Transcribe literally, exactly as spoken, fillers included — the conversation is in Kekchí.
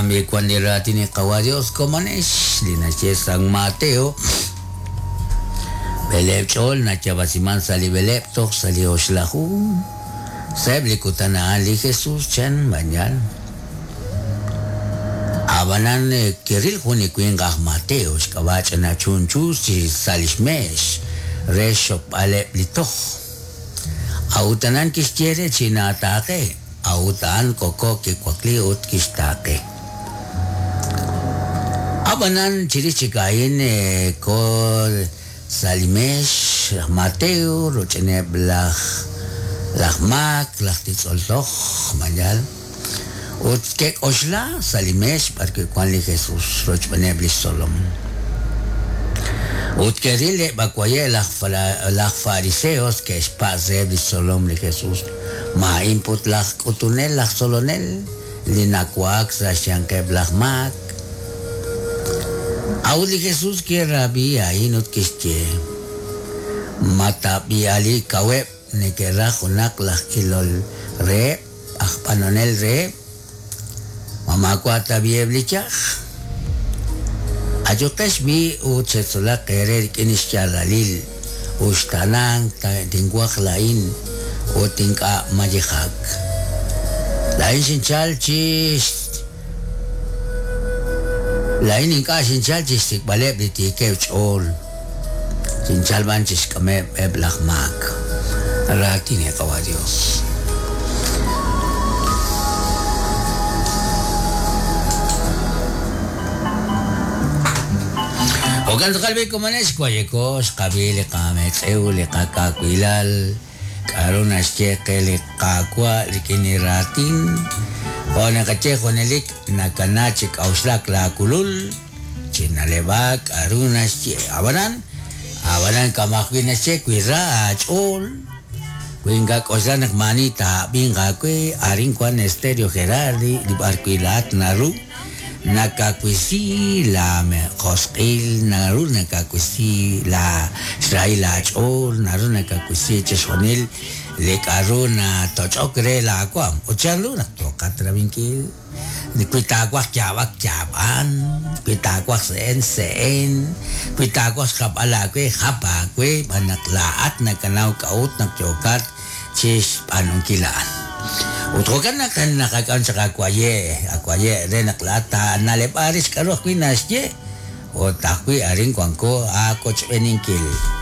Jo'kan b'i wan li raatin li Qawa' Dios komonex li naxye San Mateo b'eleeb' ch'ool nachab'asiman sa' li b'eleeb' toj sa' li oxlaju sa'eb' li kutan a'an li Jesus chan bañal Abanan kiril jun li winq aj Mateo xk'ab'a' ch'ina chunchu chi sa' lix meex re xokb'aleb' li toj A'utanan kixye re chinaataaqe a'utan koko kiwakli ut kixtaaqe Abanan chirix chik a'in ko sa' li meex laj Mateo roch'ineb' laj laj maak laj titz'ol toj mañal ut ke'k'oxla sa' li meex b'arwi' wan li Jesus rochb'eeneb' li xtzolom ut ke'ril eb' akwaye' laj laj fariseos ke'xpatz' reheb' li xtzolom li Jesus ma a'in put laj k'utunel laj tzolonel li nawaak sa' xyanqeb' laj maak A'ut li Jesus kirab'i a'in ut kixye ma tab'i ali kaweb' neke'raj junaq laj ilol reheb' aj b'anonel reheb' ma maawa' tab'i eb' li yaj Ayuqex b'i ut xetzolaq eere rik'in xyaalalil uxtaanank tinwaj la'in ut ink'a' mayejak La'in xinchal chi La'in ink'a' xinchal chi xsik'b'aleb' li tiikeb' ch'ool xinchal b'an chi xk'ameb' eb' laj maak Raatin li Qawa' Dios Jo'kan tz'aqal b'i komonex wayeko xqab'i li qametz'ew li qakawilal k'a'ru naxye qe li Qaawa' rik'in li raatin jo' naqaye junelik nakana chi k'a'uxlak laakulul chinaleb'ak k'a'ru naxye ab'anan ab'anan kamajwi' naxye wi ra aach'ool wi ink'a' k'oxla naq maani taab'inq aawe arin wan Estéreo Gerardi li b'arwi' laat naru nakawisi la josq'il naru nakawisi la xrahil aach'ool naru nakawisi chixjunil li k'a'ru natoch'ok re laawaam ut chanru naq yooqat rabinkil wi taawaj yaab'ak yaab'an wi taawaj se'en se'en wi taawaj xjapb'al aawe jap aawe b'an naq laa'at nakanaw k'a'ut naq yookat chi xb'aanunkil a'an Ut jo'kan naq naqak'am chaq akwaye' akwaye' re naq laa'at taanaleb'a rix k'a'ru ajwi' naxye ut ajwi' arin wanko aakochb'eninkil.